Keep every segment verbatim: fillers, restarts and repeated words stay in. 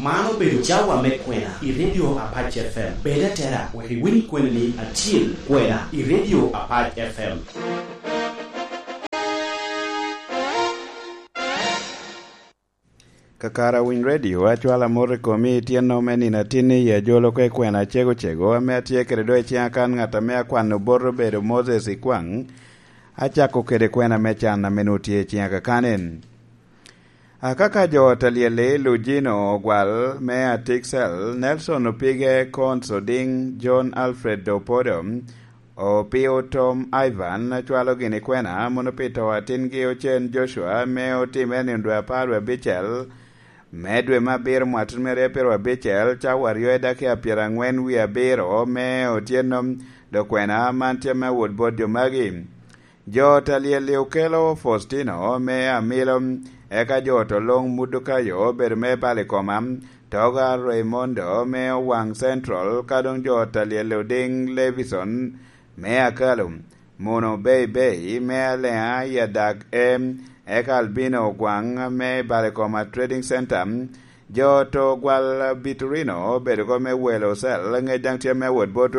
Man obedo cawa me kwena i Radio Apac F M. Bed atera wek iwiny kwena ni atyel kwena i Radio Apac F M. Kakara Winy Radio, acwalo amot i komi i tyenno me nino atinni i ajolo ka i kwena acego cego ame atye kede do i ciŋa kan ŋat ame akwano bot obedo Moses Ikwaŋ. Acako kede kwena me can ame nwoŋo tye i ciŋa kakan en. Akaka jo ot alyel-li, Lujino Ogwal me Atiksel, Nelson Opige, Cons Oding, John Alfred Opodo, Opio Tom Ivan, acwalo gini kwena mono pi to atingi Ocen Joshua, me otimme nino dwe apar wie abicel me dwe me abiro mwatun me aryo abicel, cawa aryo i dakika pyeraŋwen wie abiro me otyeno. Dok kwena man tye me wot bot jo magi. Jo ot alyel-li okelo Faustino me Amilo, eka jo ot oloŋ Mudukayo obedo me Balikoma, Toga Raimondo me Owaŋ Central, ka doŋ jo ot alyel Oding Levison me Akalo, Muno Bei Bei me Aleŋa i Adak E, eka Albino Ogwaŋ me Balikoma Trading Center. Jo ot Ogwal Biturino obedo ko me welo cel, ŋec daŋ tye me wot bot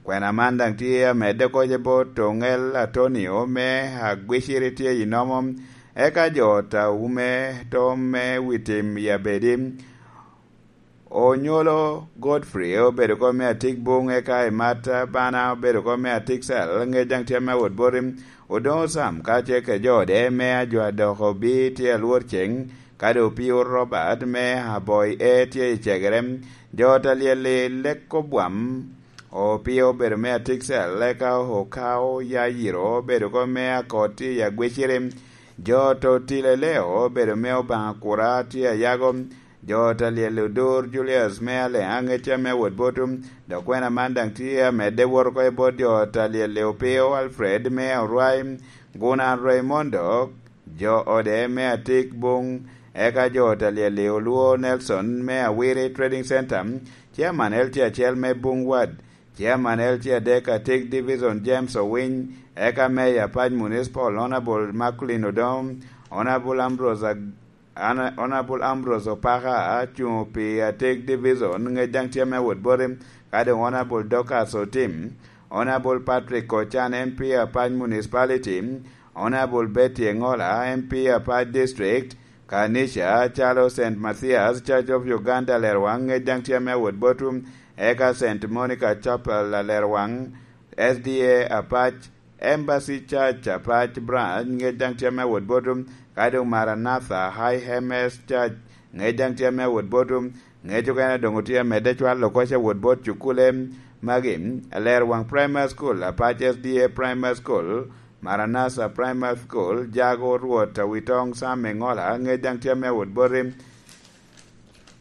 kwena man daŋ tye amedde oko ce bot Oŋel Atonio me Agwiciri tye i Nomo, eka jo ot Aume Tom me Witim i Abedi, Onyolo Godfrey obedo ko me Atik Buŋ, eka Imat Bana obedo ko me Atik Cel, ŋec daŋ tye me wot bot Odoŋo Sam ka tye kede jo ode me Ajwa dok Obi tye alwor ceŋ, ka doŋ Opio Robert me Aboi E tye i cegere. Jo ot alyel-li Leko Bwam, Opio obedo me Atik Cel, eka Okao Yayiro obedo ko me Akot tye i Agwiciri. Jo ot Otileleo obedo me Obaŋa Kura tye Ayago. Jo ot alyel Odur Julius me Aleŋa ŋec tye me wot bot, dok kwena man daŋ tye amedde wot oko i bot jo ot alyel Opio Alfred me Orwai, Guna Raimondo, jo ode me Atik Buŋ, eka jo ot alyel Olwo Nelson me Awiri Trading Center, Chairman L C acel me Buŋ Ward, Chairman L C adek Atik Division James Owiny, eka Mayor Apac Municipal Honorable Macklin Odom, Honorable Ambrose Ag-, Ana-, Honorable Ambrose Opaka acuŋ pi Atik Division, ŋec daŋ tye me wot boti, ka doŋ Honorable Dorcas Otim, Honorable Patrick Ochan M P Apac Municipality, Honorable Betty Engola M P Apac District, Kanica calo Saint Mathias Church of Uganda Alerwaŋ, ŋec daŋ tye me wot botu, eka Saint Monica Chapel Alerwaŋ, S D A Apac, Embassy Church Apac Branch, ŋec daŋ tye me wot botu, ka doŋ Maranatha High M S Church, ŋec daŋ tye me wot botu, ŋec okene doŋ otye amedde cwalo oko ce wot bot cukule magi, Alerwaŋ Primary School, Apac S D A Primary School, Maranatha Primary School, Jago Rwot Awitoŋ Sam Eŋola, ŋec daŋ tye me wot boti.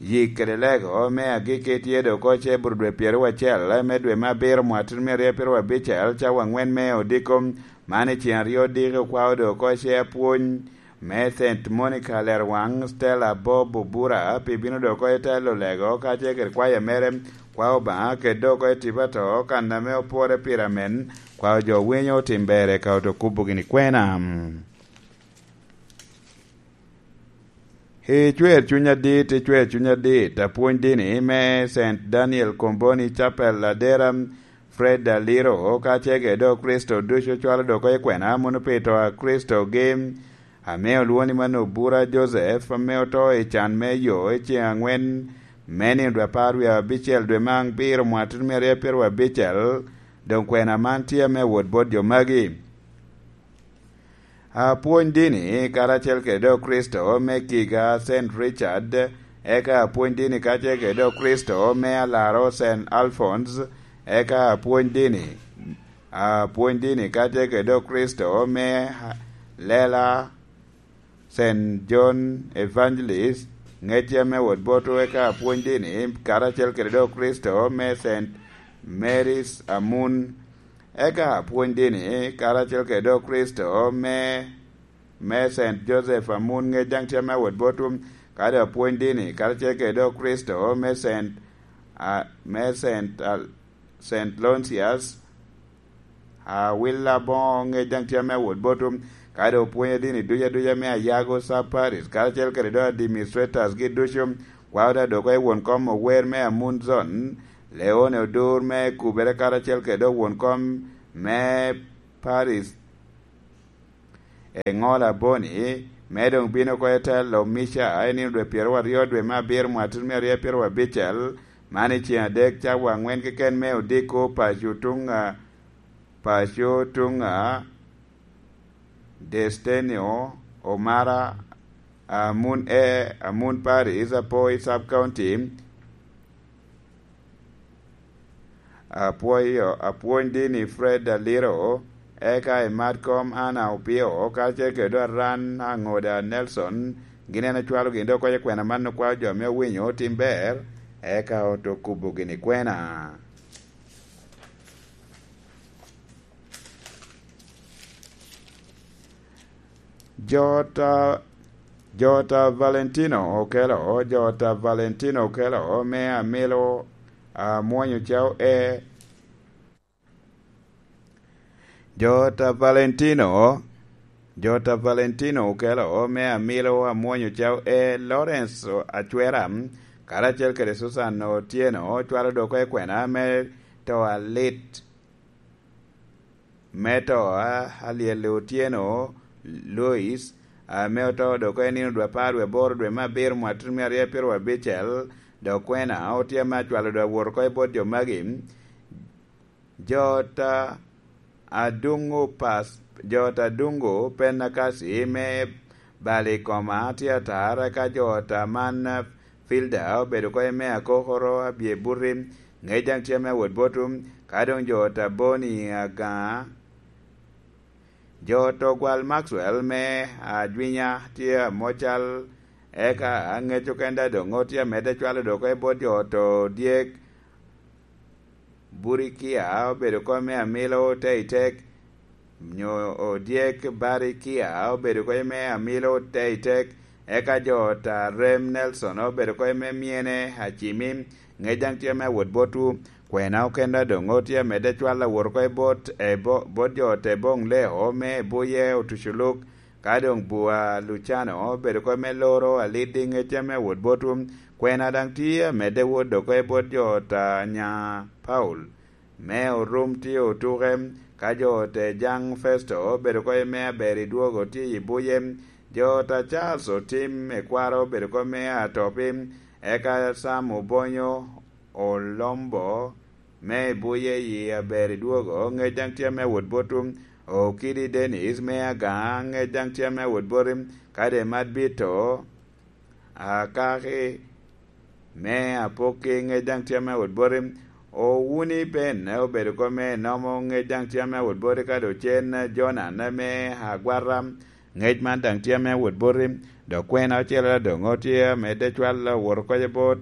Yik kede lego me agikki tye dok oko ce bur dwe pyeraryo acel me dwe me abiro mwatun me aryo pyeraryo abicel, cawa aŋwen me odiko. Man i cen aryo diki okwao dok oko ce apwony me Saint Monica Alerwaŋ, Stella Bob Obura, pi bino dok oko i telo lego, ka ce kede kwaya mere, kwao Obaŋa, kede dok oko i tipo ato, kan ame opore pire amen, kwao jo winyo otim ber, eka oto kubo gini kwena. I cwer cuny adit, i cwer cuny adit, apwony dini me Saint Daniel Comboni Chapel Adera, Fred Aliro, ka ce kede Okricito ducu cwalo dok oko i kwena, mono pi to a Kricitogi, ame olwoŋo ni mano Obura Joseph, ame oto i can me yo i ceŋ aŋwen me nino dwe apar wie abicel dwe me abiro mwatun me aryo pyeraryo abicel, doŋ kwena man tye ame wot bot jo magi. Apwony dini karacel kede Okricito me kiga Saint Richard, eka apwony dini kacel kede Okricito me alaro Saint Alphonse, eka apwony dini, apwony dini kacel kede Okricito me lela Saint John Evangelist, ŋecce me wot boto, eka apwony dini karacel kede Okricito me Saint Mary's Amun, eka apwony dini karacel kede Okricito me, me Saint Joseph Amun, ŋec daŋ tye me wot boto, kadi apwony dini karacel kede Okricito me Saint, a, me Saint, a, Saint Lonsius, Awil Aboŋo, ŋec daŋ tye ame wot boto, kadi opwonyo dini duc aduca me Ayago Sub Parish, karacel kede do administrators gi ducu, Kwao da dok i won kom ower me Amunzon, Leone Odur me Kubere karacel kede won kom me Paris, Eŋola Boni, me doŋ bino oko i telo Mica i nino dwe pyeraryo dwe me abiro mwaka tutumia aryo pyerabicel, man i ceŋ adek cawa aŋwen keken me odiko paco tuŋ a, paco tuŋ a Destenio Omara, Amun E, Amun Paris, Apoi Sub County, Apwoyo, Apwony Dini Fred Aliro, eka i Madcom Anna Opio, kacel kede Aran Aŋoda Nelson, gin en ocwalo gin dok oko i kwena man okwao jo ame owinyo tim ber, eka oto kubo gini kwena. Jota, Jota Valentino Okelo, Jota Valentino Okelo, me Amilo, Amwonyo Cao E. Jota Valentino, Jota Valentino Okelo, me Amilo, Amwonyo Cao E. Lawrence Acwera, karacel kede Susan Otieno, cwalo dok oko i kwena me to alit. Me to a Alyel Otyeno Lois, ame oto dok i nino dwe apar dwe aboro dwe me abiro mwaka tutumia aryo pyerabicel, dok kwena otye ame acwalo dok awot oko i bot jo magi. Jota Adungo Pas-, Jota Adungo Penakasi me balo i koma tye atar, eka Jota man Filda obedo oko i me akokoro abye buti, ŋec daŋ tye ame awot botu, ka doŋ jo Taboni Agaŋa, jo Togwal Maxwell me Ajwinya tye amocal, eka aŋec okenda doŋ otye amedde cwalo dok oko i bot jo to dyek, Burikia obedo oko me Amilo Teitek, nyo odyek Barikia obedo oko me Amilo Teitek, eka jo ta Rem Nelson obedo oko me Myene Acimi, ŋec daŋ tye me awot botwu. Kwena okenda doŋ otye amedde cwal awot oko i bot, e bo-, bot jo te boŋ leo me Buye Otuculuk, ka doŋ Bua Lucano obedo oko me loro aliddi ŋec me awot botwu. Kwena daŋ tye amedde wot oko i bot jo ta nya Paul. Me orum tye otuke, ka jo te jaŋ Festo obedo oko i me aber i dwogo tye i buye, jo ta Charles Otim ekwaro obedo oko me atopi, eka Sam Obonyo Olombo me i buye i aber i dwogo, ŋec daŋ tye me wot botu, Okidi Dennis me Agaŋa, ŋec daŋ tye me wot boti, ka de Mat Bito, Akaki me Apokki, ŋec daŋ tye me wot boti. Owuni Ben obedo oko me Nomo, ŋec daŋ tye me wot boti, ka doŋ cen Jonan me Agwata, ŋec man daŋ tye me wot boti. Dok kwena ocele doŋ otye amedde cwal awot oko i bot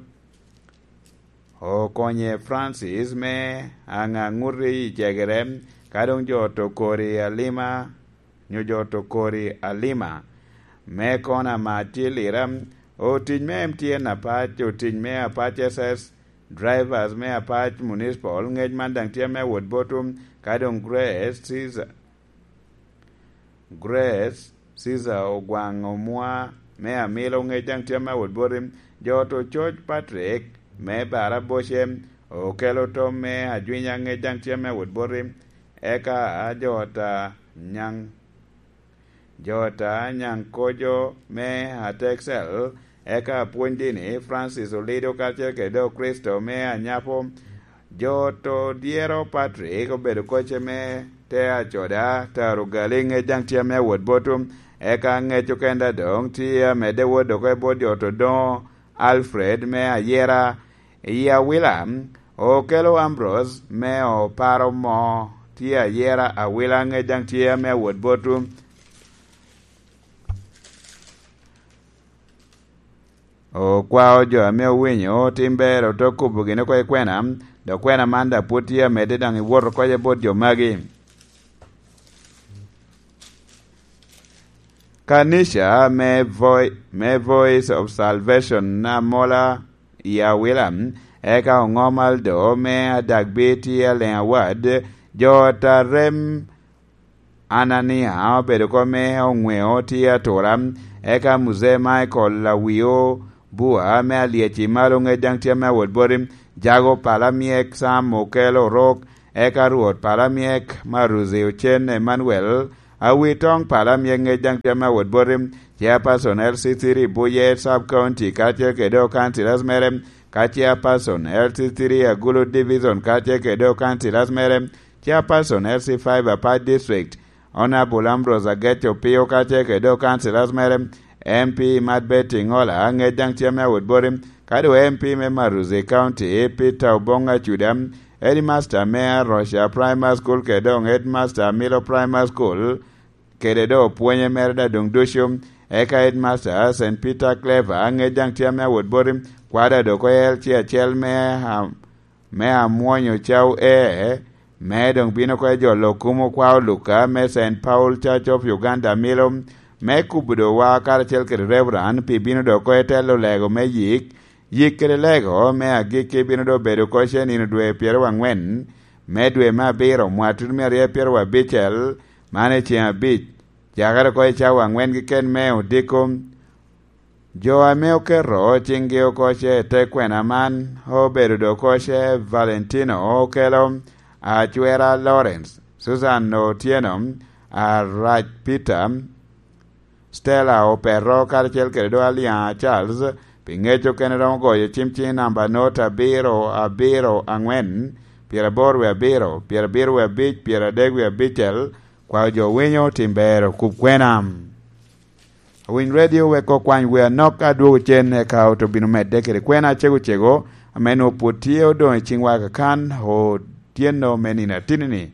Okonye Francis me Aŋaŋuti i Cegere, ka doŋ jo to kori alima, nyo jo to kori alima. Me kona ma tye lira, otic me M T N Apac, otic me Apac S S, drivers me Apac Municipal, ŋec man daŋ tye me wot botu, ka doŋ Grace Caesar. Grace Caesar Ogwaŋ Omwa me Amilo, ŋec daŋ tye me wot boti, jo to coc Patrick me Baraboce, okelo tom me Ajwinya, ŋec daŋ tye me wot boti, eka jo ta Nyaŋ, jo ta Nyaŋ Kojo me Atexel, eka apwony dini Francis Olido kacel kede Okricito me Anyapo, jo to dyero Patrick obedo kocce me te acoda, taro gali, ŋec daŋ tye me wot botu, eka ŋec okenda doŋ tye amedde wot oko i bot jo to doŋo Alfred me Ayera i Awila, okelo Ambrose me Oparo mo tye Ayera Awila, ŋec daŋ tye me wot botu. Okwao jo ame owinyo tim ber ote kubo gin oko i kwena, dok kwena man daŋ pwod tye amedde daŋ i wot oko i bot jo magi. Kanica me Voi-, me Voice of Salvation Amola i Awila, eka Oŋom Aldo me Adagbi tye Aleŋ Awad, jo ta Rem Anania obedo oko me Oŋweo tye Atura, eka Muzee Michael Awio Bua me Alyec i Malo ŋec daŋ tye ame awot boti, Jago Palamyek Sam Okello Orok, eka Rwot Palamyek Maruzi Ocen Emmanuel, Awitoŋ Palamyek ŋec daŋ tye ame awot boti, Chairperson L C three Buye Sub County kacel kede o councillors mere, ka Chairperson L C three Agulu Division kacel kede o councillors mere, Chairperson L C five Apac District, Honorable Ambrose Ageco Opio kacel kede o councillors mere, M P Mad Betty Ngola ŋec daŋ tye ame awot boti, ka doŋ M P me Maruzi County Peter Obong Acuda, Headmaster me Arusha Primary School kede doŋ Headmaster Milo Primary School, kede doŋ opwonye mere daŋ doŋ ducu, eka Headmaster Saint Peter Clever ŋec daŋ tye ame awot boti, kwada doŋ ko L C acel me, a, me amwonyo cawu e, me doŋ bino oko i jolo kumo kwao Luka me Saint Paul Church of Uganda Milo, me kubo doŋ wa karacel kede Reverend pi bino doŋ oko i telo lego me yik, yik kede lego me agikki bino doŋ bedo oko ce nino dwe pyeraryo angwen me dwe me abiro mwatut me aryo pyeraryo abicel, man i ceŋ abic, cakere oko i cawa angwen keken me odiko. Jo ame oketo ciŋgi oko ce i te kwena man obedo doŋ oko ce Valentino Okello, Acwera Lawrence, Susan Otieno, Arac Peter, Stella Opeto karacel kede doŋ Aliaŋa Charles, pi ŋec okene romo goyo cim ciŋ namba not abiro abiro angwen, pyeraboro wie abiro, pyerabiro wie abic, pyeradek wie abicel, kwao jo winyo tim ber okub kwena. Awiny redio wek okwany wea nok adwogo cen eka ot obino medde kede kwena acego cego, ame nwoŋo pwod tye odoŋ i ciŋwa kakan, otyeno me nino atinni-ni.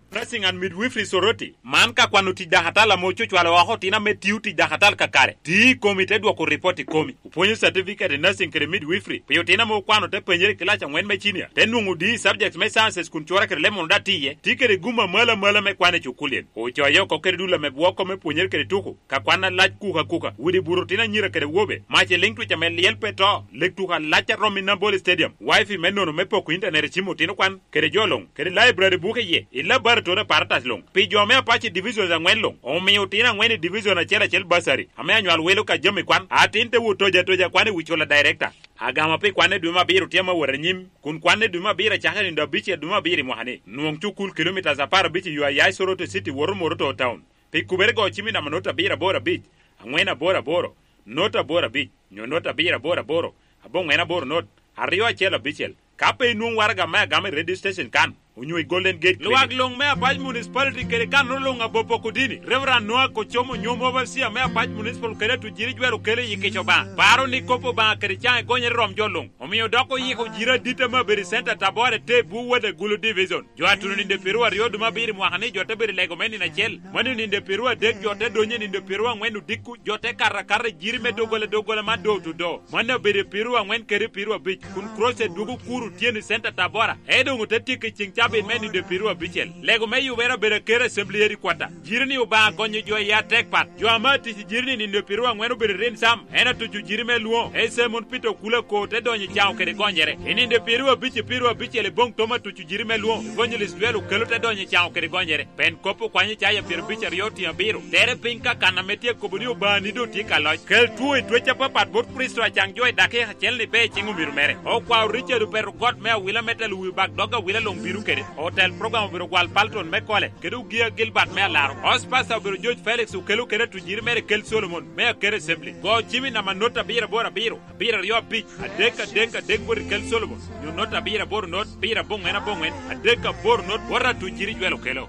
Nursing and Midwifery Soroti, man ka kwano tic dakatal ame ococwalo oko otino ame tio tic dakatal kakare. Ti i komi te dwoko ripot i komi. Opwonyo certificate i nursing kede midwifery pi otino ame okwano te penyere i kilac angwen me cinia, te nwoŋo D i subjects me sciences kun cura kede leb mono daŋ ti iye. Ti kede gum amalo amalo me kwan i cukulien. Ocoyo oko kede dul ame bwoko me pwonyere kede tuko, ka kwan alac kuka kuka, udi buto otino anyira kede awobe, mac i liŋ twic ame lyel pe to, lek tuko alac a romo i Nambole Stadium, wifi me nono me poko internet i cim otino kwan, kede jo luŋ, kede library buke iye, i laboratory apparatus luŋ. Pi jo me Apache Divisions angwen luŋ, omio otino angwen i division acel acel bursary, ame anywal wilo ka jami kwan, atin te wot toja toja kwan i wi cula director. Agama pi kwan i dwe me abiro tye ame wot anyim, kun kwan i dwe me abiro acakere i nino abicel dwe me abiro i mwaka-ni. Nwoŋ cukul kilomitas apar abic i yo aya i Soroti City woto Moroto Town. Pi kubere go cim i namba not abiro aboro abic, angwen aboro aboro, not aboro abic, nyo not abiro aboro aboro, aboŋwen aboro not, aryo acel abicel. Ka pe inwoŋ waraga me agama i radio station kan, onyo i Golden Gate Clinic. Lwak luŋ me Apac Municipality kede kannono luŋ abopo kodini, Reverend Noah Kocomo onyo Overseer me Apac Municipal kede Atujiri Jwel okelo i yikkic Obaŋa. Paro ni kop Obaŋa kede caŋ egonyere rom jo luŋ. Omio dok oyiko jiri adit ame abedo i Center Tabora te bwu wode Gulu Division. Jo a tuno nino pyeraryo aryo dwe me abiro i mwaka ni jo te bedo i lego me nino acel. Mano nino pyeraryo adek jo te donyo i nino pyeraryo angwen odiko, jo te kato akata i jiri me doggola doggola man door to door. Mano abedo i pyeraryo angwen kede pyeraryo abic, kun Cross dwogo kuro otyeno i Center Tabora. Ento doŋ ote tyeko i ceŋ cabit me nino pyeraryo abicel. Lego me yubere abedo aker Assembly Headquarter. Jiri ni Obaŋa gonyo jo i atek pat. Jo ame atic i jiri ni nino pyeraryo angwen obedo i rin sam. En atuco jiri me lwoŋo. Ese mon Peter Okula ko te donyo i caŋo kede gonyere. I nino pyeraryo abic i pyeraryo abicel i boŋ Tom atuco jiri me lwoŋo. Evangelist Dwel Okelo te donyo i caŋo kede gonyere. Pen kop okwanyo Icaya pyerabicel aryo tiŋ abiro. Tere piny ka kan ame tye kobo ni Obaŋa ni doŋ tye ka loc. Kel two i twec apapat bot Kricito acaŋ jo i dakika acel ni pe i ciŋ omiro mere. Okwao Ricard Opero got me awila me telo wi bak dog awila luŋ bino kede. Otel program obedo gwal Palton me Kole, kede Ogia Gilbert me Alaro. Host pastor obedo George Felix Okelo kede atujiri mere Kel Solomon me Akero Assembly. Go cim i namba not abiro aboro abiro, abiro aryo abic, adek adek adek bot i Kel Solomon, nyo not abiro aboro not, abiro aboŋwen aboŋwen, adek aboro not, bot atujiri Jwel Okelo.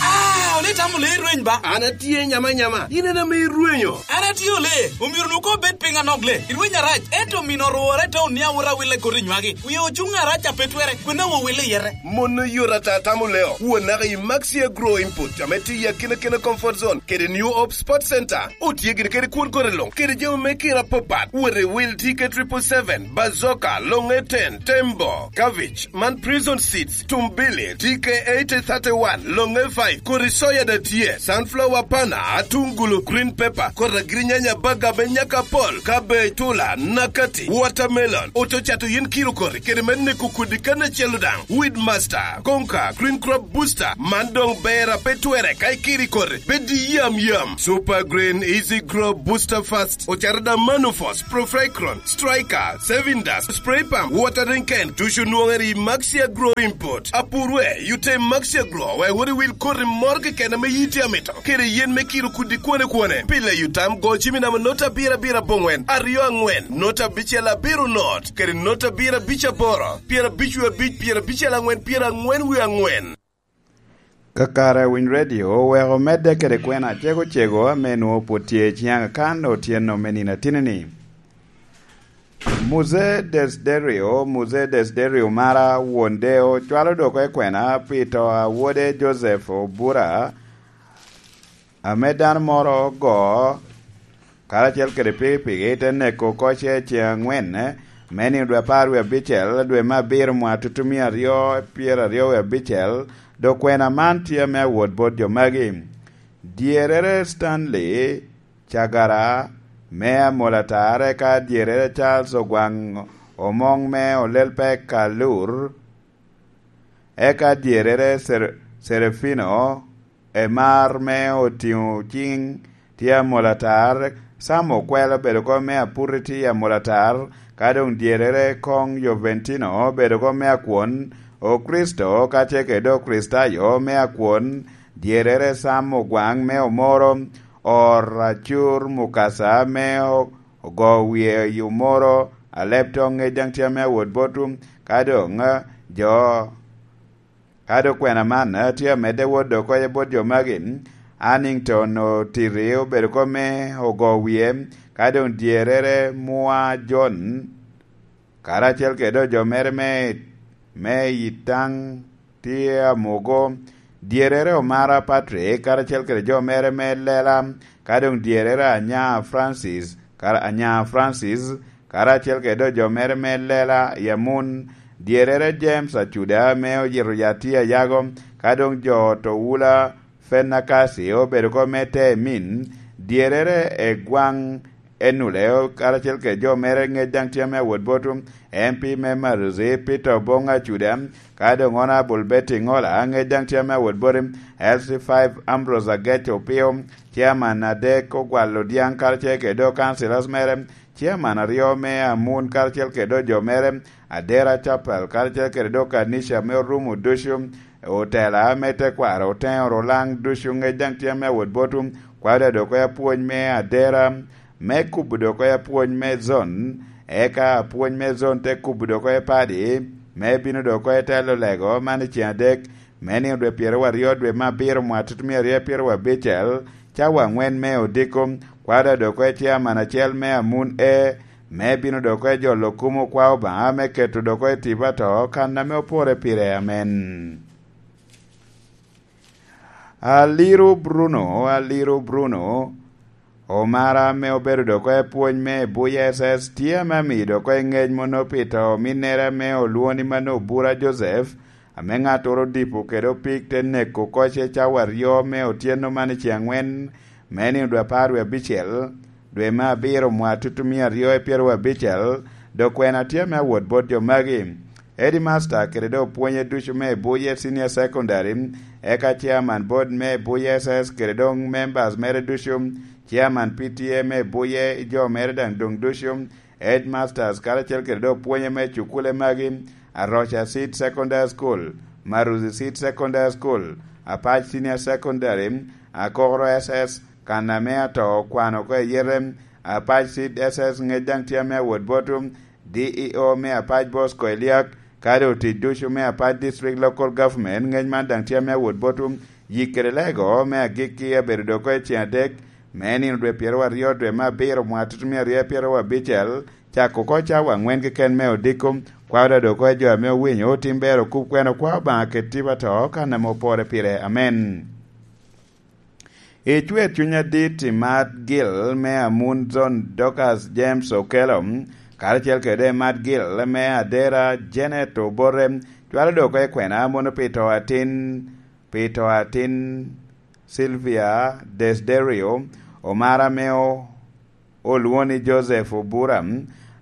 Ah, ole itamo lee rweny ba? An atye nyama nyama, in en ame irwenyo. An atye ole, omyero nu ko bed piny anok le. Irweny arac, ento mino orwore te onia wot awille koti nywagi. Wie ocuŋ arac a pe twere, kwena wo wille yete. Mon oyot ata tamo leo. Won naka i Maxi Agro Input, ame tye i akina kina comfort zone, kede New Hope Sports Center. Otye gire kede kwon kore luŋ, kede jami me kira apapat. Wot i wil T K triple seven, Bazoka, Longe ten, Tembo, Cabbage, man Prison Seeds, Tumbili, T K eighty thirty-one, Longe five, kodi soya Tye sunflower, pana, atungulu, green pepper, kota girinyanya, baga me nyaka pol, cabbage, tula, nakati, watermelon, oto cato yin kiro koti kede me neko kodi kan acel daŋ. Weed master, konka, green crop booster, man doŋ ber a pe twere ka ikiri koti, bed yam yam. Super green, easy grow, booster fast, ocato daŋ manufos, profecron, striker, sevindas, spray pump, watering can, tucu nwoŋere i Maxia Grow Import. Apurwe, yute Maxia Grow, wek wot i wil koti moro keken ame yiti amito, kede yen me kiro kudi kwone kwone. Pile yutam go cimi namo nota abiro abiro aboŋwen, aryo aŋwen, nota abicel abiro not, kede nota abiro abic aboro, pyera abic wie abic, pyera abicel aŋwen, pyera aŋwen wie aŋwen. Kakare Winy Radio oweko medde kede kwena cego cego ame nwoŋo pwod tye i ciaŋ akan otyeno me nino atinini. Muse Desiderio, Muse Desiderio mara, won deo, cwalo doko i kwena pi to a wode Joseph Obura, ame dano moro ogo, karacel kede pikipiki, te neko oko ce ceŋ aŋwen, me nino dwe apar wie abicel, dwe me abiro, mwa tutumia aryo pyeraryo wie abicel, dok kwena man tye ame awot bot jo magi. Dyerere Stanley Cagara me Amolatar, eka dyerere Charles Ogwaŋ Omoŋ me Olelpek Alur, eka dyerere Ser-, Serafino Emar me Otiŋo Ciŋ tye Amolatar, Sam Okwel obedo kop me Apuriti Amolatar, ka doŋ dyerere koŋ Joventino obedo kop me Akwon, Okricito kacel kede Okricitayo me Akwon, dyerere Sam Ogwaŋ me Omoro, Or Acur Mukasa me o-, ogo wie i Omoro, Aleb Toŋ ŋec daŋ tye ame awot botwu, ka doŋ, eh, jo, ka doŋ kwena man, eh, tye amedde wot dok oko bot jo magi, Annington Otiti obedo kop me ogo wie, ka doŋ dyerere Mwa John, karacel kede jo mere me, me Itaŋ tye Amogo, dyerere Omara Patrick, karacel kede jo mere me Lela, ka doŋ dyerere Anya Francis, kar-, Anya Francis, karacel kede jo mere me Lela i Amun, dyerere James Acuda me oyito yat tye Ayago, ka doŋ jo ot Owula Fenakasi obedo kop me te emin, dyerere Egwaŋ Enule, karacel kede jo mere ŋec daŋ tye ame awot botwu, M P me Maruzi, Peter Obong Acuda, ka doŋ Honorable Betty Ŋola, ŋec daŋ tye ame awot boti, L C five Ambrose Agec Opio, Chairman adek Ogwal Odiaŋ, karacel kede doŋ councillors mere, Chairman aryo me Amun, karacel kede doŋ jo mere, Adera Chapel, karacel kede doŋ kanica me Orumo ducu, otela me tekwaro, Oteŋo Rulaŋ ducu, ŋec daŋ tye ame awot botwu, kwaro dok oko apwony me Adera, me kubo dok oko apwony me zon, eka apwony me zon te kubo dok oko padi, me bino dok oko telo lego, man i ceŋ adek, me nino dwe pyeraryo dwe me abiro, mwaka tutumia aryo pyeraryo abicel, cawa aŋwen me odiko, kwaro dok oko chairman acel me Amun E, me bino dok oko jolo kumo kwa Obaŋa, me keto dok oko tipo ato, kan ame opore pire. Amen. Aliro Bruno, Aliro Bruno, omara ame obedo dok oko pwony me Buya S S, tye ame amiyo dok oko ŋec mono pi to ominnere ame olwoŋo ni Mano Obura Joseph, ame ŋattoro odipo kede opik te neko oko ce cawa aryo me otyeno man i ceŋ aŋwen, me nino dwe apar wie abicel, dwe me abiro, mwaka tutumia aryo pyeraryo abicel, dok kwena tye ame awot bot jo magi. Headmaster kede doŋ opwonye ducu me Buye Senior Secondary, eka Chairman Board me Buye S S kede doŋ members mere ducu, Chairman P T A me Buye, jo mere daŋ doŋ ducu, Headmasters karacel kede doŋ opwonye me cukule magi, Aroca Seed Secondary School, Maruzi Seed Secondary School, Apac Senior Secondary, Akokoro S S, kan ame ato okwano oko i yete, Apac Seed S S ŋec daŋ tye ame awot botwu, D E O me Apac Bosco Eliak, kadi otic ducu me Apac District Local Government, ŋec man daŋ tye ame awot botwu, yik kede lego me agikki abedo dok oko i ceŋ adek, me nino dwe pyeraryo dwe me abiro mwaka tutumia aryo pyeraryo abicel, cako oko cawa aŋwen keken me odiko, kwaro dok oko jo ame owinyo otim ber okub kwena kwa Obaŋa kede tipo ato kan ame opore pire. Amen. I cwer cuny adit i Mad Gil me Amun Zone, Dorcas James Okello, karacel kede Mad Gil me Adera Janet Obote, cwalo dok oko i kwena mono pi to atin, pi to atin Silvia Desiderio, omara ame o-, olwoŋo ni Joseph Obura,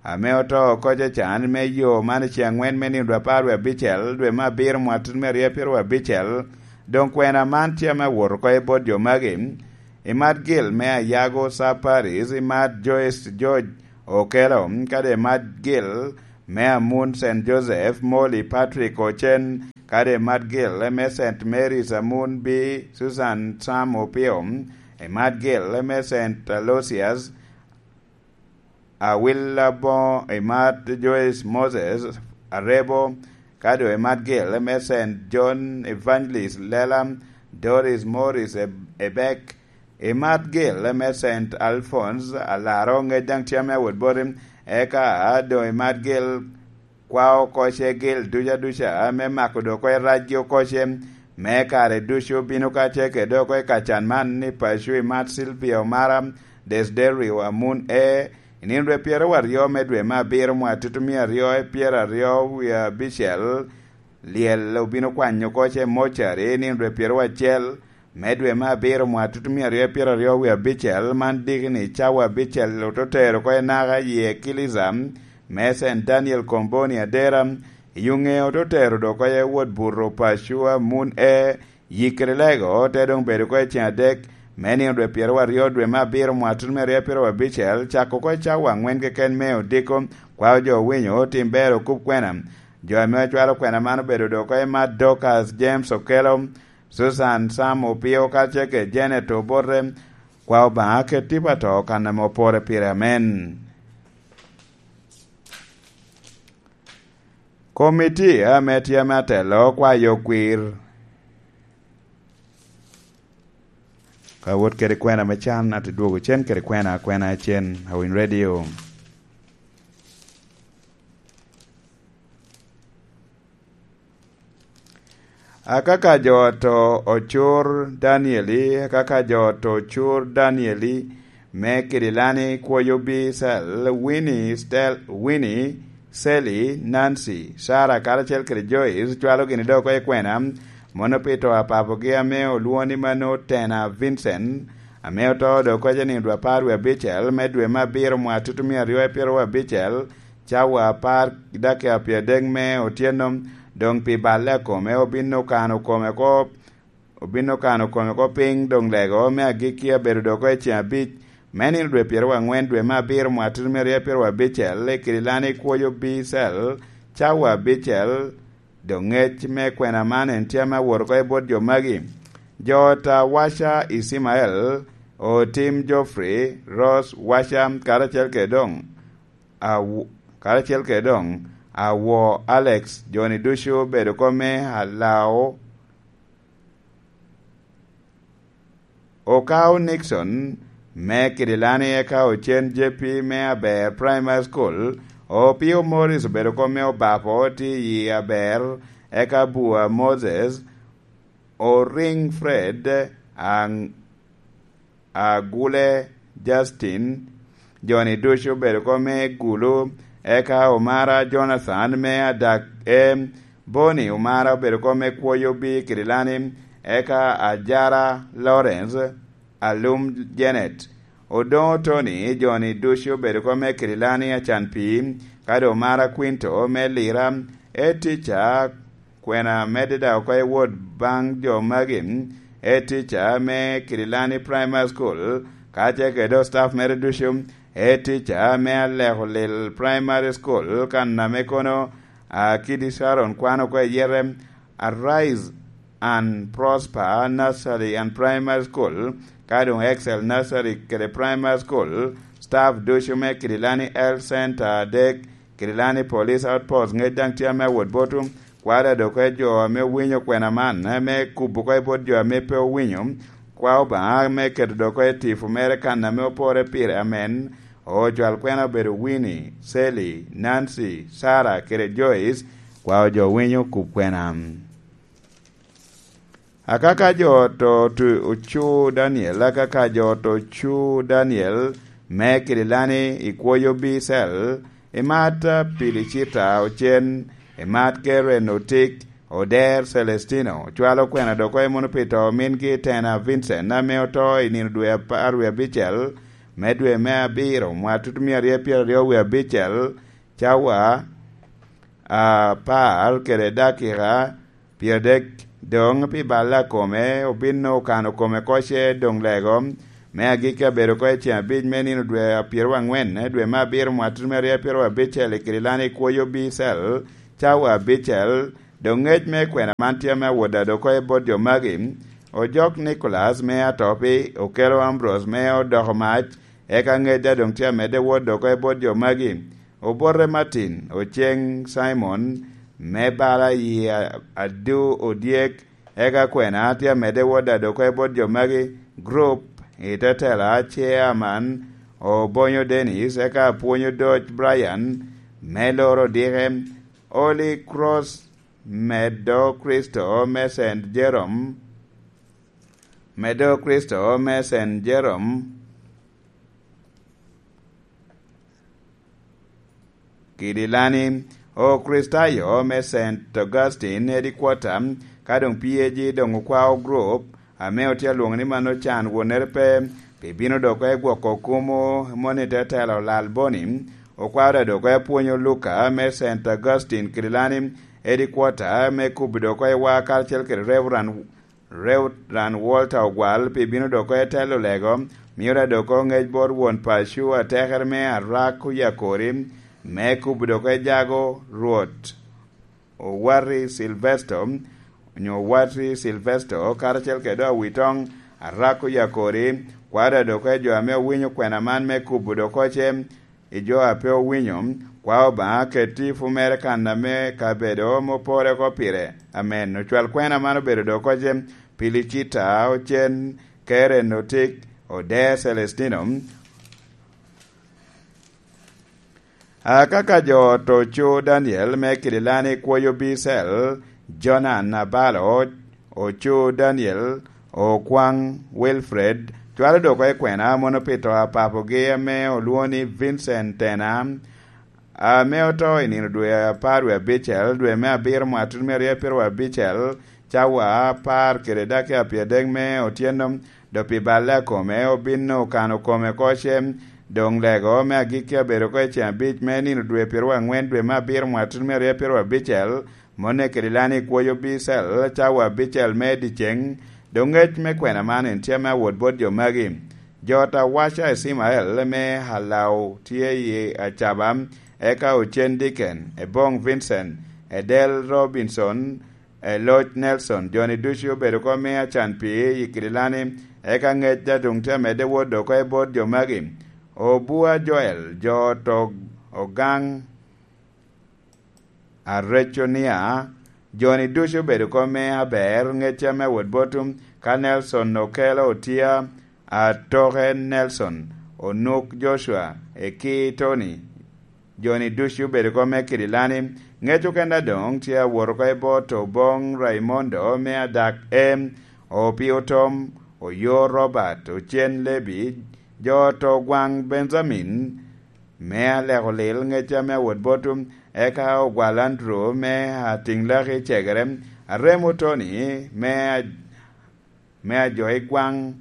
ame oto oko cecan me yo man i ceŋ aŋwen me nino apar wie abicel, dwe me abiro mwatut me aryo apiro wie abicel. Doŋ kwena man tye ame awot oko i bot jo magi. Imat Gil me Ayago Sub Parish, imat Joyce George Okello, kadi imat Gil me Amun Saint Joseph, Molly Patrick Ocen, kadi imat Gil me Saint Mary's Amun B, Susan Sam Opio, imat Gil me Saint Aloysius, Awil Aboŋo, imat Joyce Moses Arebo, kadi imat Gil me Saint John Evangelist Lela, Doris Morris Eb-, Ebek, imat Gil me Saint Alphonse Alaro, ŋec daŋ tye ame awot boti, eka doŋ imat Gil kwao oko ce Gil duca duca, me mako dok oko i racgi oko ce, me kare ducu bino ka ce kede oko i kacan man ni paco imat Silvia Omara Desiderio Amun E, i nino dwe pyeraryo me dwe me abiro mwaka tutumia aryo i pyeraryo wie abicel, lyel obino kwanyo oko ce mocari i nino dwe pyeraryo acel me dwe me abiro mwaka tutumia aryo i pyeraryo wie abicel, man diki ni cawa abicel oto tero oko i naka i ekilica me Saint Daniel Komboni Adera, i Yuŋe oto tero dok oko i wot buto paco Amun E, yik kede lego te doŋ bedo oko i ceŋ adek me nino dwe pyeraryo dwe me abiro mwaka tutumia aryo pyeraryo abicel, cako oko i cawa aŋwen keken me odiko, kwao jo owinyo, tim ber, okub kwena. Jo ame ocwalo kwena man obedo dok oko i mat Dorcas James Okello, Susan Sam Opio, kacel kede Janet Obote, kwao Obaŋa ket tipo ato kan ame opore pire. Amen. Komiti ame tye ame atelo kwayo kwir. Ka wot kede kwena me can, ate dwogo cen kede kwena, kwena cen, Awiny Radio. Akaka jo oto ocur Danieli, akaka jo oto ocur Danieli, me Kidilani kwoyo bi cel, Winnie, Stel-, Winnie, Sally, Nancy, Sarah, karacel kede Joyce, cwalo gini dok oko i kwena, mono pi to a papogi ame olwoŋo ni mano Tena Vincent, ame oto dok oko i nino dwe apar wie abicel me dwe me abiro mwaka tutumia aryo pyeraryo abicel, cawa apar dakika pyeradek me otyeno, doŋ pi balle a kome obin okano kome oko, obin okano kome oko piny, doŋ lego me agikki abedo dok oko i ceŋ abic me nino dwe pyeraryo aŋwen dwe me abiro mwaka tutumia aryo pyeraryo abicel, i Kidilani kwoyo bi cel, cawa abicel, doŋ ŋec me kwena man en tye ame awot oko i bot jo magi. Jo ot a Waca Ismael, Otim Geoffrey, Rose Waca, karacel kede doŋ Awo-, karacel kede doŋ Awo Alex, jo-ni ducu obedo oko me Alao, Okao Nixon me Kidilani, eka Ocen J P me Aber Primary School, Opio Morris obedo oko me Obapo, tye i Aber, eka Bua Moses, Oring Fred, Ang-, Agule Justin, jo-ni ducu obedo oko me Gulu, eka Omara Jonathan me Adak M, Boni Omara obedo oko me Kwoyo B Kidilani, eka Ajara Lawrence, Alum Janet, Odoŋo Tony, jo-ni ducu obedo oko me Kidilani, Acan Pii, kadi Omara Quinto me Lira, Etica, kwena medde daŋ oko i wot baŋ jo magi, Etica me Kidilani Primary School, kacel kede staff mere ducu, Etica me Aleko Lil Primary School, kan ame kono, a, Kidi Sharon kwano oko i yete, Arise and Prosper Nursery and Primary School, ka doŋ Excel Nursery kede Primary School, staff ducu me Kidilani Health Center adek, Kidilani Police Outpost ŋec daŋ tye ame awot botu, kwada dok i jo ame owinyo kwena man, ame kubo oko i bot jo ame pe owinyo, kwa Obaŋa me keto dok oko i tipo mere kan ame opore pire. Amen. Ocwal kwena obedo Winnie, Sally, Nancy, Sarah, kede Joyce, kwa jo winyo kub kwena. Akaka jo to tu-, ocu Daniel, akaka jo to ocu Daniel, me Kidilani i kwoyo B cell, imat Pilicita Ocen, imat Karen Otik, Oder Celestino, cwalo kwena dok oko mono pi to mingi Tena Vincent, ame oto i nino dwe apar wie abicel me dwe me abiro, mwatutu mia aryo pyeraryo wie abicel, cawa apar kede dakika pyeradek. Doŋ pi balla kome, obin okano kome koce doŋ lego me agikki abedo oko i ceŋ abic me nino dwe apyeru aŋwen, dwe me abiro, mwatutu me aryo apyeru abicel, i Kirilani kwoyo B cell, cawa abicel. Doŋ ŋec me kwena man tye ame awot dado oko i bot jo magi. Ojok Nicolas me Atopi okelo Ambrose me odoko mac, eka ŋec daŋ doŋ tye amedde wot dok oko i bot jo magi. Obote Martin, Oceng Simon, me bala i a-, adu odyek, eka kwena tye amedde wot dado oko i bot jo magi. Group i te tela, Chairman Obonyo Dennis, eka apwonyo Doc Brian, me loro dike, Holy Cross, medo Kricito me Saint Jerome, medo Kricito me Saint Jerome, Kidilani, Okricitayo me Saint Augustine Headquarter, ka doŋ P A G doŋ okwao group, ame otye alwoŋo ni mano can wonere pe, pi bino dok oko i gwoko kumo moni te telo Lal Boni, okwao dok oko i apwonyo Luka me Saint Augustine Kidilani Headquarter, me kubo dok oko i wa karacel kede Reverend Reverend Walter Ogwal pi bino dok oko i telo lego, mio dok oko ŋec bot won paco atekere me Arak Oyakori, me kubo dok oko i jago Rwot Owati Silvesto, onyo Owati Silvesto, karacel kede Awitoŋ Arak Oyakori, kwada dok oko i jo ame owinyo kwena man me kubo dok oko ce, i jo a pe owinyo, kwao Obaŋa ket tipo mere kan ame kabedo mopore oko pire. Amen. Ocwal kwena man obedo dok oko ce, Pilicita, Ocen, Keren, Otik, Ode, Celestino, Akaka jo ot ocu Daniel me Kidilani kwoyo Bicel, Jonan Abalo, ocu Daniel, Okwaŋ Wilfred, cwalo dok oko i kwena mono pi to a papogi ame olwoŋo ni Vincent Tena, ame oto i nino dwe apar wie abicel, dwe me abiro, mwaka tutu me aryo pyeraryo abicel, cawa apar kede dakika pyeradek me otyeno, dok pi balle akome, obin okano kome oko ce, doŋ lego me agikki abedo oko i ceŋ abic me nino dwe pyeraryo aŋwen, dwe me abiro, mwaka tutu me aryo pyeraryo abicel, mone kede lani kwoyo Bicel, cawa abicel me dyeceŋ, doŋ ŋec me kwena man en tye ame awot bot jo magi. Jo ot awaca Icimael me Alau tye i Acaba, eka Ocen Diken, Eboŋ Vincent, Edel Robinson, Eloc Nelson, jo-ni ducu obedo oko me acan pii i Kidilani, eka ŋec daŋ doŋ tye amedde wot dok oko i bot jo magi. Obua Joel, jo ot Og-, Ogaŋ Areconia, jo-ni ducu obedo oko me aber, ŋec ame wot bot, ka Nelson Okelo Otia, Atoke Nelson, Onuk Joshua, Eki Tony, jo-ni ducu obedo oko me Kidilani. Ŋec okene doŋ tye awot oko i bot Oboŋ Raimondo me Adak Em, Opio Tom, Oyo Robert, Ocen Lebi, jo ot Ogwaŋ Benjamin, me Aleko Lil, ŋec ame awot bot, eka Ogwal Andrew me Atiŋ Laki Cegere, Aremo Tony me a-, me Ajo i Gwaŋ,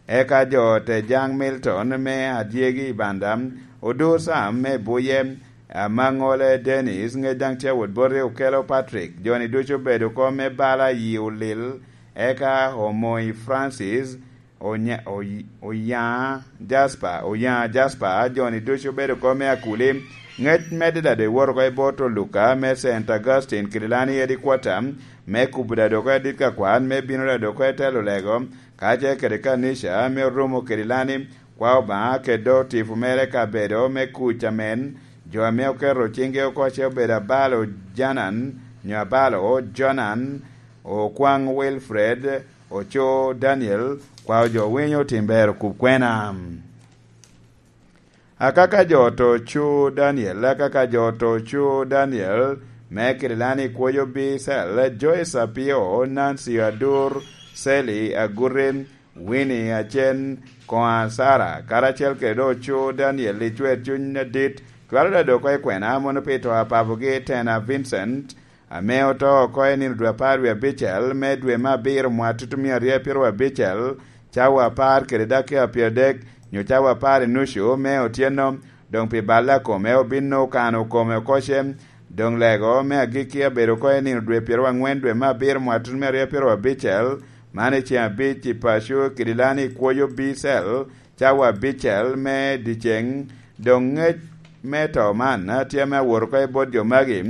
eka jo ot Ejaŋ Milton me Adyegi i Banda, Odur Sam me Buye, Amaŋole Dennis, ŋec daŋ tye awot boti, Okelo Patrick, jo-ni ducu obedo oko me bala yi olil, eka Omoy Francis, Onya-, Oy-, Oyaŋa Jasper, Oyaŋa Jasper, jo-ni ducu obedo oko me Akuli, ŋec medde daŋ doŋ iwoto oko i bot Oluka me Saint Augustine Kidilani Headquarter, me kubo daŋ doŋ oko adit ka kwan, me bino daŋ doŋ oko i telo lego, kacel kede kanica, me orumo Kidilani, kwa Obaŋa kede tipo mere kabedo me kuc amen, jo ame oketo ciŋgi oko ce obedo abalo Janan, nyo abalo Jonan, Okwaŋ Wilfred, Oco Daniel, kwa ojo winyo tim ber okub kwena. Akaka jo ot Ocu Daniel, akaka jo ot Ocu Daniel, me Kirilani kwoyo Bicel, Joyce Apio, Nancy Adur, Sally Agurin, Winnie Acen, Koa Sara, karacel kede Ocu Daniel i cwer cuny adit, cwalo daŋ doŋ oko i kwena mono pi to a papogi Tena Vincent, ame oto oko i nino dwe apar wie abicel me dwe me abiro mwaka tutumia aryo pyeraryo abicel, cawa apar kede dakika pyeradek, nyo cawa apar i nucu me otyeno, doŋ pi balle a kome obin okano kome oko ce. Doŋ lego me agikki abedo oko i nino dwe pyeraryo aŋwen dwe me abiro mwaka tutumia aryo pyeraryo abicel, man i ceŋ abic i paco i Kidilani kwoyo B cell, cawa abicel me dyeceŋ. Doŋ ŋec me to man tye ame awot oko i bot jo magi,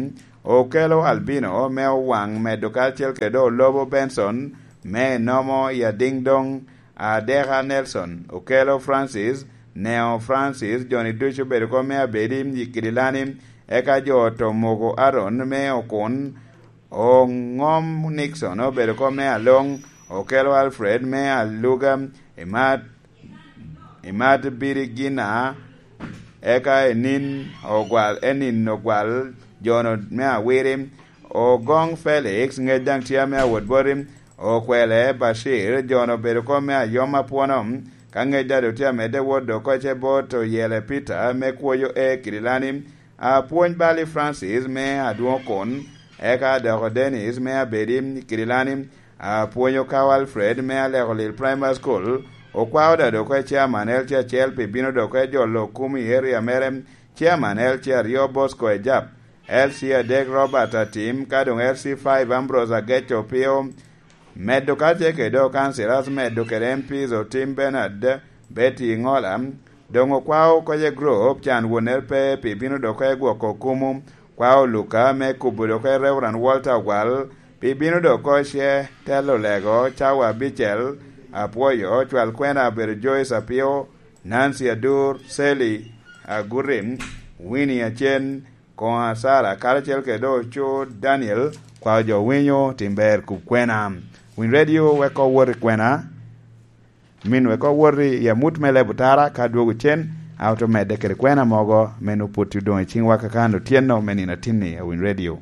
okelo Albino me Owaŋ medo karacel kede Olobo Benson me Nomo i Adiŋ Doŋ, Adeka Nelson, okelo Francis, Neo Francis, jo-ni ducu obedo oko me Abedi i Kidilani, eka jo oto Mogo Aaron me Okun, Oŋom Nixon obedo oko me Aloŋ, okelo Alfred me Aluga, Imat, Imat Birigina, eka Enin Ogwal, Enin Ogwal, jo-nu me Awiri, Ogoŋ Felix, ŋec daŋ tye ame awot boti, Okwele Bashir, jo-nu obedo oko me Ayom Apwono, ka ŋec daŋ doŋ tye amedde wot doŋ oko ce bot Oyele Peter me kwoyo e Kidilani, Apwony Bali Francis me Adwoŋ Okon, eka doko Dennis me Abedi Kidilani, Apwony Okawo Alfred me Aleko Lil Primary School, okwao daŋ doŋ oko i chairman L C acel pi bino doŋ oko i jolo kum i area mere, chairman L C aryo Bosco Ejap, L C adek Robert Atim, ka doŋ L C five Ambrose Ageco Opio, medo ka tye kede dok councillors, medo kede M Ps Otim Bernard, Betty Ŋola, doŋ okwao oko i group can wonere pe pi bino doŋ oko i gwoko kumu, kwao Luka me kubo doŋ oko i Reverend Walter Ogwal, pi bino doŋ oko ce telo lego cawa abicel, apwoyo cwal kwena abedo Joyce Apio, Nancy Adur, Sally Agurim, Winnie Acen, Koŋa Sara, karacel kede Oco Daniel, kwao jo winyo tim ber kub kwena. Winy Radio weko wot i kwena, min weko wot i amut me lebo tara ka dwogo cen, a oto medde kede kwena mogo, men opwoti odoŋ i ciŋwa kakano otyeno me nino atinni a Winy Radio.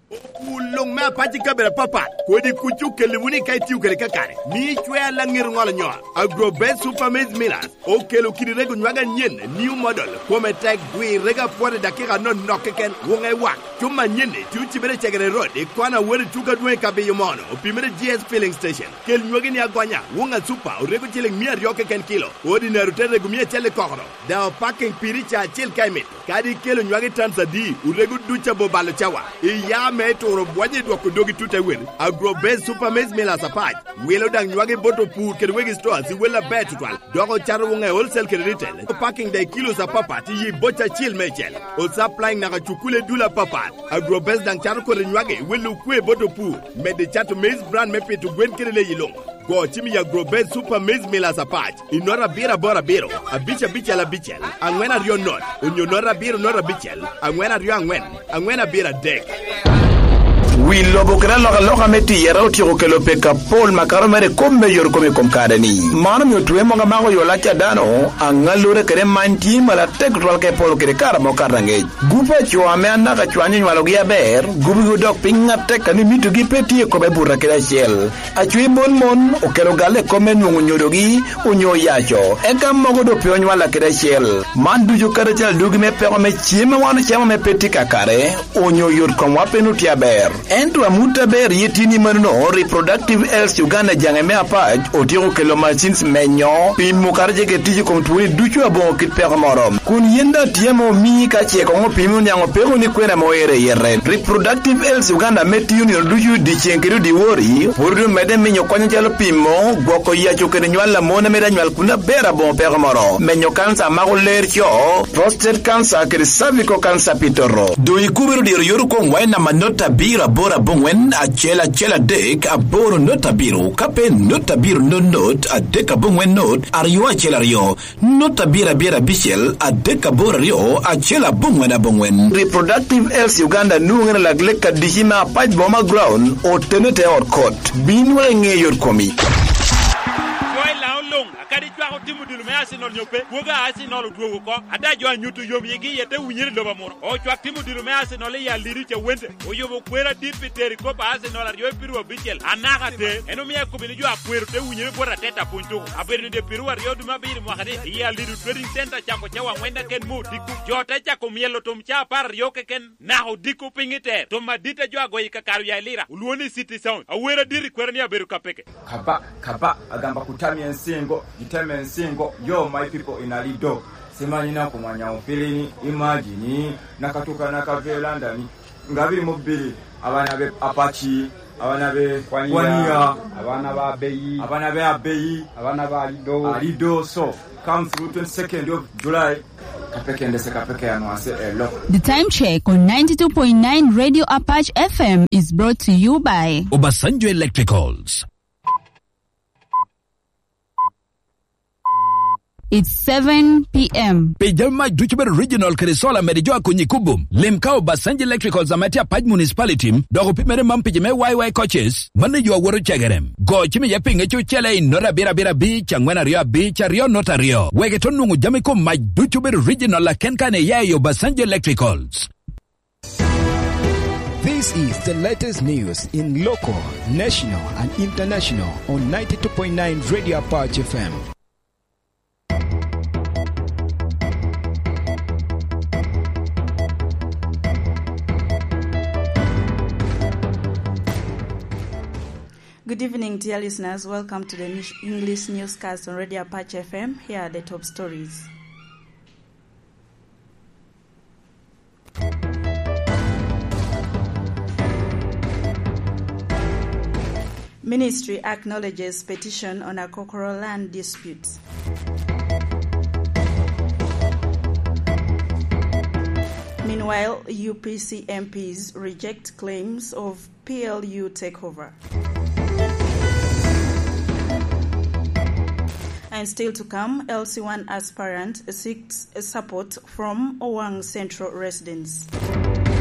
Okul luŋ me apac i kabedo apapat, kodi kuc okelli wunu i ka itio kede kakare, mi icwer laŋet oŋolo nyo. Agrobet Super Maize Millers okelo kidi rego nywag anyen, new model, kome tek, dwi rego apwot i dakika anonok keken, wuŋe wak. Cuma anyen-ni tye ocibere i Cegere Road, i kona wot i tuko adwoŋ i Kabiyo Mono, opimere G S Filling Station. Kel nywagi ni agonya, wuŋa Super, orego ciliŋ mia aryo keken kilo, Ordinary te rego mia acel i kokoro, daŋ opaking piri ca acel ka imito. Kadi ikelo nywagi tons adi, orego duc abo balo cawa. Iya me turo bwonyo i dwoko dogi tut awel. Agrobase Super Maize Millers apac. Wilo daŋ nywagi bot opur kede wegi stores i wel aber tutwal. Dok ocato wuŋe wholesale kede retail. Opaking daŋ i kilos apapat i yi boca acil meicel. Osupplying naka cukule dul apapat. Agrobase daŋ cato kodi nywagi wel okwe bot opur. Medde cato maize bran me pito gwen kede leyi luŋ. Go cim i Agrobase Super Maize Millers apac. I nota abiro aboro abiro, abic abicel abicel, aŋwen aryo not, onyo nota abiro nota abicel, aŋwen aryo aŋwen, aŋwen abiro adek. Wi lobo kede alokaloka me tiyere otyeko kelo peko apol makato mere i kop me yore kom i kom kare-ni. Man omio twe mogo amako yo lac a dano, aŋallure kede many tye malatek tutwal ka ipolo kede kare amo kato aŋec. Gup a co ame anaka cwany onywalogi aber, gubigi odok piny atek a ni mitogi pe tye i kome buto kede acel. Acwiny mon mon okelo galle i kop me nwoŋo nyodogi onyo oyaco, eka mogo doŋ pe onywalla kede acel. Man ducu kadi acel adugi me peko me cem a wan ocamo ame pe tye kakare, onyo yot komwa pe nwoŋo tye aber. Ento amut aber ye tye ni manono, Reproductive Health Uganda jaŋe me apac otyeko kelo machines menyo, pimo kadi ce kede tic i kom twoni ducu aboŋo kit peko moro. Kun yin daŋ tye ame omii ka ce koŋ opimi oniaŋ opeko ni kwena ame oero i yete. Reproductive Health Uganda ame tiyo nino ducu dyeceŋ kede dyewor-ri, pwod omedde minyo kony acalo pimo, gwoko yaco kede nywal a mon ame daŋ nywal kun aber aboŋo peko moro, menyo kanca a mako ler co, prostate cancer kede cervical cancer pi toto. Doŋ ikubere dyero yot okoŋ wa i namba not abiro aboro aboŋwen acel acel adek aboro not abiro, ka pe not abiro not not adek aboŋwen not aryo acel aryo. Not abiro abiro abicel adek aboro aryo acel aboŋwen aboŋwen. Reproductive Health Uganda nwoŋere lak lek adici me apac boma ground, otene te ot kot. Bin wek iŋe yot komi. Luŋ, akadi cwako tim odilo me Arsenal nyo pe, kwogo a Arsenal odwogo oko. Ada jo a nyuto yom yigi iye te winyere i lobo amuro. Ocwak tim odilo me Arsenal i Alidu Cawente oyubo kwer adit pi tero i kop a Arsenal aryo i piru abicel anaka ater. En omio akobo ni jo akwero te winyere bot Arteta pwony tuko. Abedo ni dye piru aryo dwe me abiro mwaka ni i Alidu Trading Center cako cawa angwen keken me odiko. Jo te cako myelo tum ca apar aryo keken. Naka odiko piny i ter, tum adit a jo agoyo i kakare oya i Lira, olwoŋo ni City Sound. Awer adit i kwero ni abedo ka peke. Kaba, kaba, agamba kutami ensingo, giteme ensingo, yo, my people in Alido. Simanyi na kumanya ofilini, imagine, nakatuka nakavela ndani. Ngabiri mobili, abana be Apache, abana be Kwaniya, Kwaniya, abana ba Abeyi, abana be Abeyi, abana ba Alido. Alido, so, come through twenty-second of July. Kapekende se kapeke anwase elo. The time check on ninety-two point nine Radio Apache F M is brought to you by Obasanjo Electricals. It's seven p.m. Pi jami mac ducu bedo original kede solar mede jo akonyi kubo. Lim ka Obasanjo Electricals ame tye Apac Municipality, dok opimere man pi jo me Y Y coaches, mano yo awoto cegere. Go cim iye pinge cucele i nota abiro abiro abic, angwen aryo abic, aryo nota aryo. Wek ito nwoŋo jami kom mac ducu bedo original aken kane iya i Obasanjo Electricals. This is the latest news in local, national, and international on ninety-two point nine Radio Apache F M. Good evening, dear listeners. Welcome to the Nish-, English newscast on Radio Apache F M. Here are the top stories. Ministry acknowledges petition on Akokoro land disputes. Meanwhile, U P C M Ps reject claims of P L U takeover. And still to come, L C one aspirant seeks support from Owang Central residents.